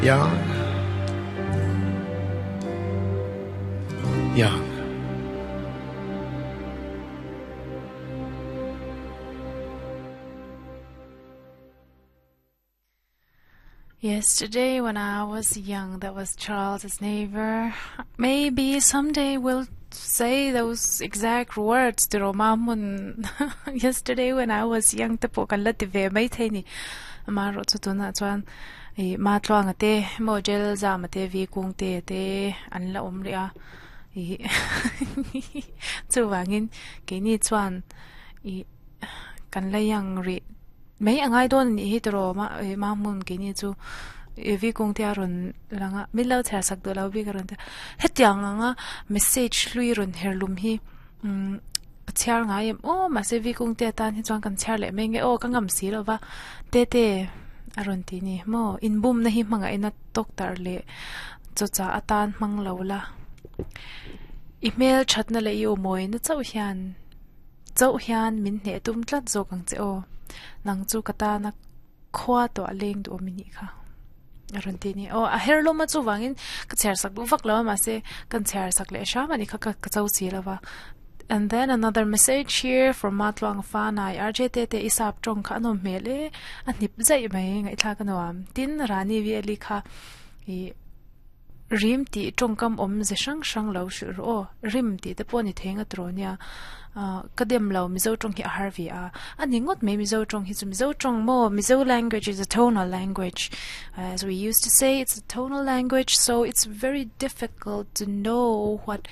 Young. Young. Yesterday when I was young, that was Charles's neighbor. Maybe someday we'll say those exact words to Romamun. Yesterday when I was young, te pawh kan la ti ve mai thei ni. Amaherawh chu tunah chuan ih ma tluanga te maw jail zama te vi kung te te an la awm rih a. Ih chuvangin keini chuan ih kan la young rih. Mai a ngai dawn a nih hi tiraw ma ih ma hmun keini chu ih vi kung te a rawn lang a min lo chhiar sak duh lo bik a rawn ti a hetiang anga message hlui rawn her lum hi umm a chhiar ngai em aw mahse vi kung te atan hi chuan kan chhiar leh mai nge aw ka ngam si lo va te te a rawn ti ni maw inbumna hi hmangaihna tawk tarh leh chawchah atan hmang lo la i hmel thatna leh i awmawina chauh hian. Chauh hian min hneh tum tlat zawk ang che aw. Nang chu ka tana khua tawh a leng duh awm i nih kha. A rawn ti a ni. Aw, a her lawm a chuvangin ka chhiar sak duh vak lo a mahse kan chhiar sak leh hram a ni kha ka cho si lo va. And then another message here from Matluang Fanai RJ Tete i sap tawng kha a nawm hmel e a hnip zaih mai ngaihthlak a nuam. Tin, Rani Veli kha ih Rim tih tawngkam awm ze hrang hrang lo hrilh rawh aw. Rim tih te pawh ni thei nga tawh nia. Ahh ka dem lo Mizo tawng hi a har ve a. A ni ngawt mai Mizo tawng hi chu Mizo tawng maw Mizo language is a tonal language. As we used to say it's a tonal language so it's very difficult to know what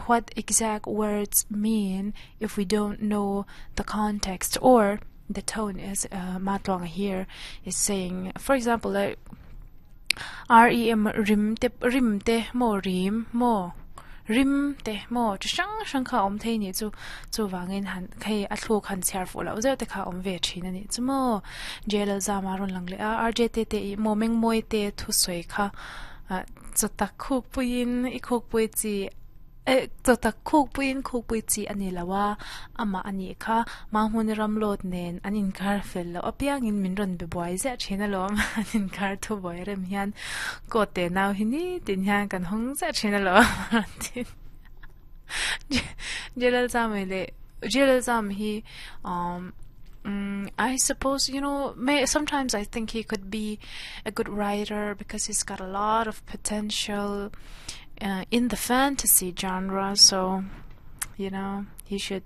what exact words mean if we don't know the context or the tone as uh, Ma Tluanga here is saying. For example, like R-E-M rim te rim te maw rim maw rim te maw chi hrang hrang kha a awm thei anih chu chuvangin han hei a thluk han chhiar fuh loh zeuh te kha a awm ve thin anih chu maw J Lalzama a rawn lang leh a R_J te te ih maw Mengmawi te thusawi kha ah chawtak khuk puiin i khuk pui chi Eh, chawtak khukpuiin khukpui chi a ni lo a, amah a nih kha Mahmuni Ramlawt nen an inkar fel loh apiangin min rawn be buai ziah thin alawm, an inkar thu buai rem hian coat te nau hi nitin hian kan hawng ziah thin alawm a rawn ti. Jalal leh Jalal Zam hi um I suppose you know may sometimes I think he could be a good writer because he's got a lot of potential uh, in the fantasy genre so you know he should